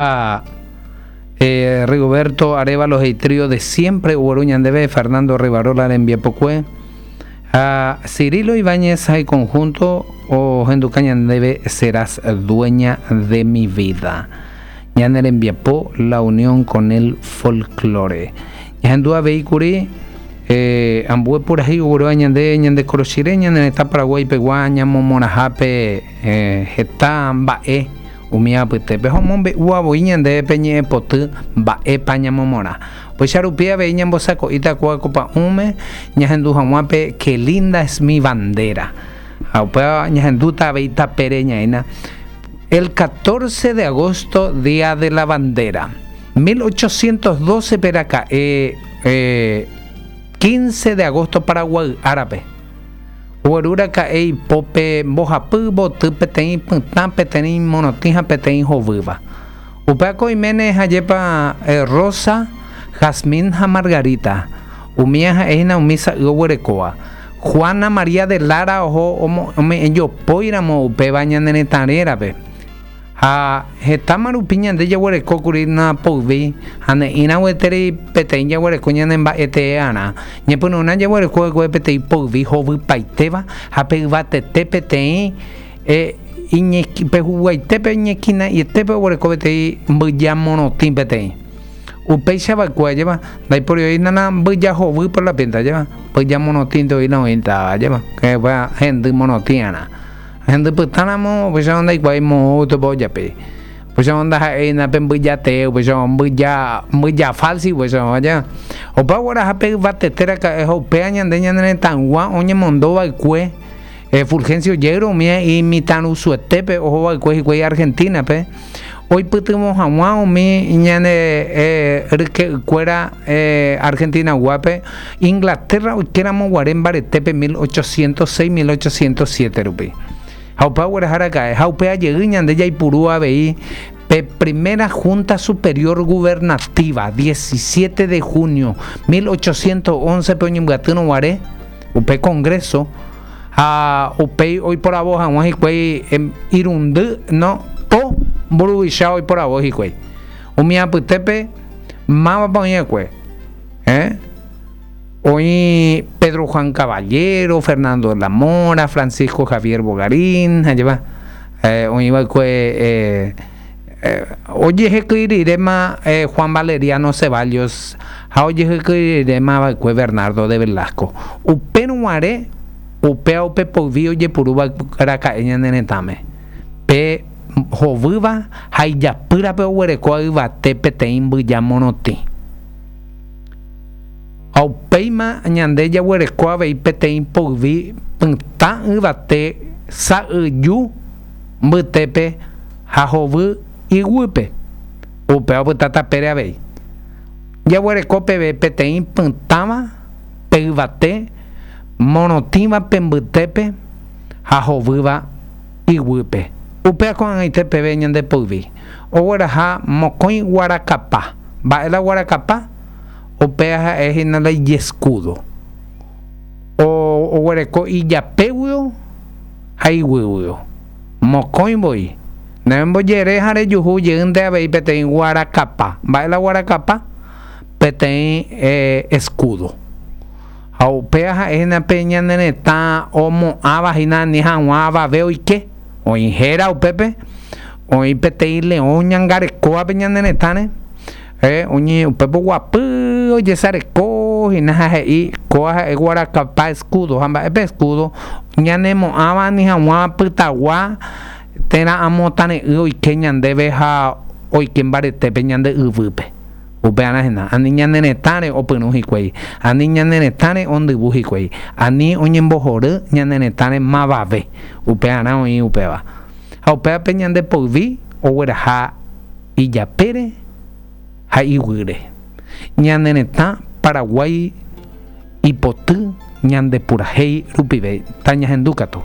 A Rigoberto Arévalo he'i trío de siempre ogueru ñandéve Fernando Rivarola rembiapokue ha Cirilo Ibáñez ha iconjunto ohenduka ñandéve Serás dueña de mi vida. Ñane rembiapo La unión con el folklore. Ñahendu avei kuri ambue purahéi oguerúva ñande ñande korochire ñane retã Paraguái pegua ñamomorãhápe heta mba'e Umi apytépe ha omombe'úva voi ñandéve pe ñe'ẽpoty mba'épa ñamomorã. Upéicha rupi avei ñambosako'íta kóva ko pa'ũme ñahendu hag̃ua pe Qué linda es mi bandera. Ha upéva ñahendúta avei tapére ñaína el 14 de agosto, Día de la Bandera. 1812-pe raka'e 15 de agosto Paraguay árape. Ogueru raka'e ipópe mbohapy yvoty peteĩ pytã, peteĩ morotĩ ha peteĩ hovýva. Upévako oiméne hajépa rosa, jazmín ha margarita. Umíva ha'e hína umi sa'y oguerekóva. Juana María de Lara oho ome'ẽ jopói ramo upéva ñane retã rérape. Ha hetáma rupi ñande jaguereko kuri napoyvi ha ne'ĩra gueteri peteĩ jaguereko ñane mba'e tee arã. Ñepyrũrã jaguereko va'ekue peteĩ poyvi hovypaitéva ha pe yvatete peteĩ pe huguaitépe iñequina'ietépe oguereko peteĩ mbyja morotĩ peteĩ. Upéicha va'ekue ajépa ndaipóri oĩna la mbyja hovy por la pinta ajépa mbyja morotĩnte oĩna oĩtava ajépa hendy morotĩ arã. Hendy pytã ramo, upéicharõ ndaikuaái moõguipa ojapi. Upéicharõ ndaha'éina pe mbyja tee, upéicharõ mbyja, mbyja fálsi upéicharõ aja. Opa ogueraha pe yvatete raka'e ha upéva ñande ñane retãygua oñemondo va'ekue Fulgencio Yegros umi imitãrusuetépe oho va'ekue hikuái Argentina-pe oipytyvõ hag̃ua umi ñane ryke'ykuéra Argentina-guápe Inglaterra oikéramo guare mbaretépe 1806, 1807 rupi. Ha upe ogueraha raka'e, ha upéva jey ñande jaipuru avei pe Primera Junta Superior Gubernativa, 17 de junio 1811-pe oñembyatýrõ guare upe Congreso, ha upéi oiporavo hag̃ua hikuái irundy, no, po mburuvicha oiporavo hikuái. Umi apytépe mávapa oĩ va'ekue? Eh? Oĩ Pedro Juan Caballero, Fernando de la Mora, Francisco Javier Bogarín, ha jeva, eh, oĩ va'ekue eh, eh, ojehekýi riréma eh, Juan Valeriano Ceballos ha ojehekýi riréma va'ekue Bernardo de Velasco. Upérõ guare upéva upe poyvi ojepuru raka'e ñane retãme. Pe hovýva ha ijapýrape oguerekóva yvate peteĩ mbyja morotĩ. Ha upéima ñande jaguereko avei peteĩ poyvi pytã yvate sa'yju mbytépe ha hovy iguýpe, upéva opyta tapére avei. Jaguereko peve peteĩ pytãva pe yvate morotĩva pe mbytépe ha hovýva iguýpe. Upéva ko'ag̃aite peve ñande poyvi ogueraha mokõi guarakapa. Mba'e la guarakapa? Upéva ha'e hína la ijeskúdo. Oguereko ijapéguio ha iguýguio. Mokõi voi. Nembojere ha rejuhu jeýnte avei peteĩ guarakapa. Mba'e la guarakapa? Peteĩ eskúdo. Ha upéva ha'e hína pe ñane retã omo'ãva hína ani hag̃ua avave oike. Oĩ héra upépe, oĩ peteĩ leõ oñangarekóva pe ñane retãre. Oñe upépe oguapy ojesareko hína ha he'i kóva ha'e guarakapa escudo. Ha mba'épe escudo? Ñanemo'ãva ani hag̃ua pytagua térã amo tare'ỹ oike ñandéve ha oike mbaretépe ñande yvýpe. Upearã hína, ani ñane retãre opyrũ hikuái, ani ñane retãre ondyvu hikuái, ani oñembohory ñane retãre mavave. Upearã oĩ upéva. Ha upévape ñande poyvi ogueraha ijapére ha iguýre. Ñane retã Paraguái ipoty ñande purahéi rupive. Tañahendu katu.